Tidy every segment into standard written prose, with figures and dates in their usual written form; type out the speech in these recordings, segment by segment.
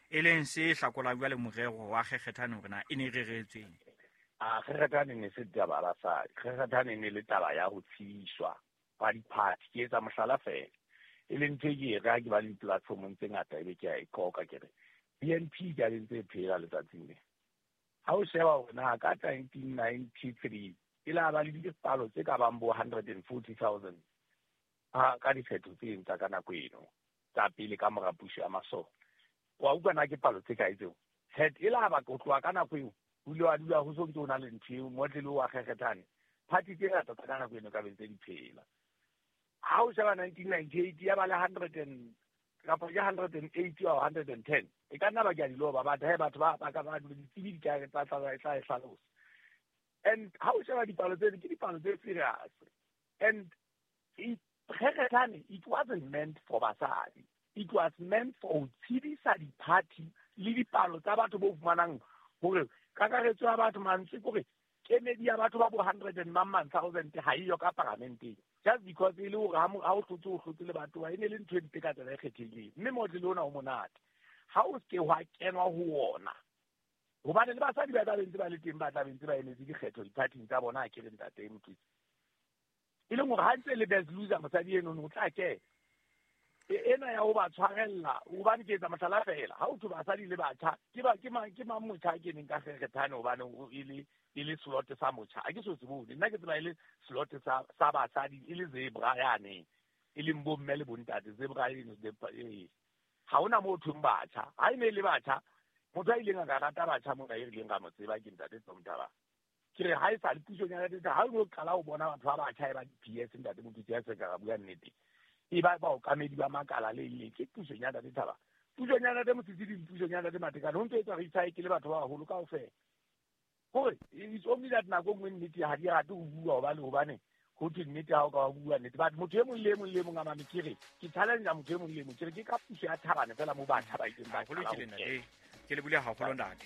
E leng se hlakolang jwale morero wa kgekgethane hore na e ne e reretsweng. A kgekgethane ne se taba ya basadi, kgekgethane ne le taba ya ho tshiswa hwa diphathi. Ke etsa mohlala feela, e leng ntho e ke e re ha ke ba le di-platformong tse ngata ebe ke a e qoka, ke re BNP ka be ntse e phela letsatsing le. Ha o sheba hore na ka 1993 e la ba le dipalo tse ka bang bo 140,000 ka dikgetho tse tsa ka nako eno tsa pele ka mora puso ya masole. Wa utlwa na ke palo tse kae tseo? Het e la ba go tloha ka nako eo o ile wa dula ho so ntse o na le ntho eo motlele wa kgekgethane. Party tse ngata tsa ka nako eno ka be ntse di phela. Ha o sheba 1998 ya ba le 100 and kapa ke 180 or 110, e ka nna ba ke a di loba, but he batho ba ka ba ditsebi di ka tla tla tla e hlalosa. And ha o sheba dipalo tse, ke dipalo tse serious. And kgekgethane, it wasn't meant for basadi, it was meant for ho tshedisa di-party le dipalo tsa batho bo fumanang hore kakaretso ya batho, mantswe kore kemedi ya batho ba bo hundred and mang mang thousand ha eyo ka paramenteng, just because e le hore ha o hlotse, o hlotse le batho ba e ne le ntho e mpe ka tsela e kgethehileng. Mme motlele ona o monate ha o se ke hwa kenwa ho ona, hobane le basadi ba tla be ntse ba le teng, ba tla be ntse ba emetse dikgetho di-party-ing tsa bona. Ha ke re ntate Motlatsi, e leng hore ha ntse le best loser, mosadi eno o tla kena ena ya ho ba tshwarella. Hobane ke etsa mohlala fela, ha o thwe basadi le batjha, ke ba ke mang, ke mang motjha a keneng ka kgekgethane? Hobane e le slot sa motjha a ke so se bone. Nna ke tseba e le slot sa basadi, e le zebra yane, e leng bomme le bontate, zebra eno. Ha hona moo thweng batjha. Ha e ne e le batjha, motho a ileng a ka rata batjha mona e rileng ra mo tseba ke ntate Tom Thabane. Ke re ha e sa le pusong ya ntate, ha o no qala ho bona batho ba batjha e ba di-PS, ntate Motutsi, ya se ka ra bua nnete, e ba baokamedi ba makala le le ke pusong ya ntate Thaba, pusong ya ntate Mosisi, le pusong ya ntate Matekane, ho ntso etswa recycle batho ba baholo kaofela. Hore it's only that nako nngwe nnete ha di rate ho bua, hobane ho thwe nnete ha o ka wa bua nnete. But motho e mong le e mong le e mong a mame, ke re ke challenge motho e mong le e mong, ke re ke ka puso ya Thabane fela mo batjha ba ileng ba qala ho kena. Ke le bule haholo, ntate.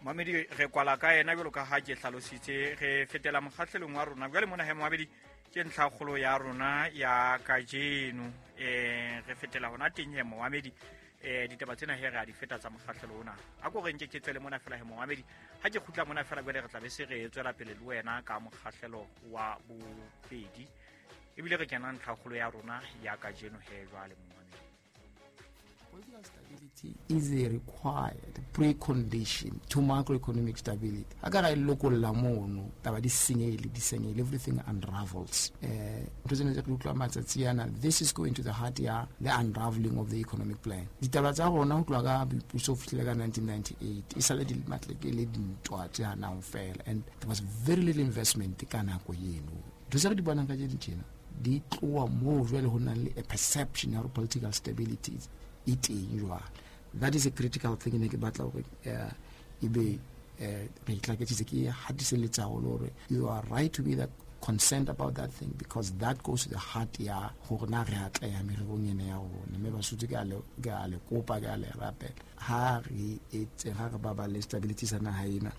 Mamedi, re kwala ka ena jwalo ka ha ke hlalositse, re fetela mokgahlelong wa rona jwale mona. He momamedi, ke ntlha kgolo ya rona ya kajeno, re fetela hona teng. He momamedi, ditaba tsena he re a di feta tsa mokgahlelo ona. A ko re nke ke tswele mona fela. He momamedi, ha ke kgutla mona fela jwale, re tla be se re tswela pele le wena ka mokgahlelo wa bobedi, ebile re kena ntlha kgolo ya rona ya kajeno. He jwale momamedi. Political stability is a required precondition to macroeconomic stability. A ka ra e lokolla mono, taba di senyehile, di senyehile, everything unravels. Ntho tsena tse re utlwa matsatsi ana, this is going to the heart ya the unraveling of the economic plan. Ditaba tsa rona ho tloha ka boipuso ho fihlile ka 1998 e sale di matleke le dintwa tse hanang fela, and there was very little investment ka nako eno. Ntho tse re di bonang ka tse tjena di tloha moo jwale ho nang le a perception ya hore political stability e teng jwale. That is a critical thing. Ne ke batla hore ebe re itlaketsitse, ke hatiselletsa haholo hore you are right to be that concerned about that thing, because that goes to the heart ya hore na re atleha mererong ena ya rona. Mme Basotho, ke a le kopa, ke a le rapela, ha re etse, ha re baballe stability sa naha ena.